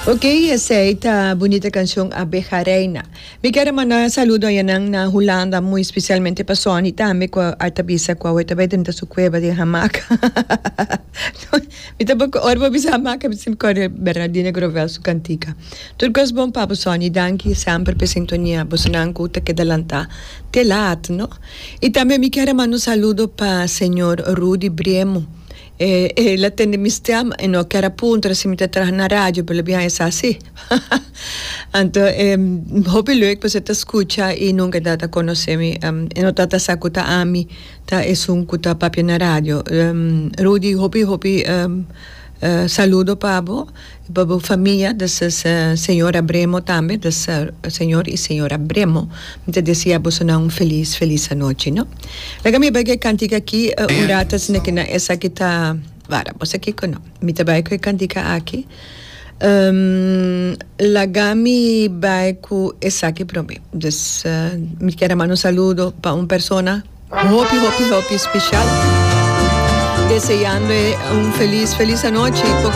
Ok, esei ta bunita cancion Abeja Reina. Mi kier a manda saludo ayanan na Hulanda, muy especialmente pa Sonny tambe cu a ta bisa cu awe ta bay drenta su cueva den hamaca. Mi ta ora bo bisa hamaca mi siempre corda Bernardina Grovel su cantica. Tur cos bon pa bo Sonny, danki semper pa e sintonia, bosonan cu ta keda lanta te laat no. Y tambe mi kier a manda un saludo pa señor Rudy Bremo. E el a tende mi stem e no kier a puntra si mi ta traha na radio pero lo biaha e sa si. Anto e hopi leuk pasobra e ta scucha y nunca e tabata conoce mi. E no tabata sa cu ta ami ta esun cu ta papia na radio. Rudy hopi hopi saludo pa bo y pa bo famia des señora Bremo tambe des señor y señora Bremo mi ta desea bosonan un feliz feliz anochi no. Laga mi bai ku e kantika aki un rato asina ki na esaki ta wara bo sa kiko no mi ta bai ku e kantika aki laga mi bai ku esaki prome dus mi kier a manda un saludo pa un persona hopi hopi hopi special deseando e un feliz feliz anochi.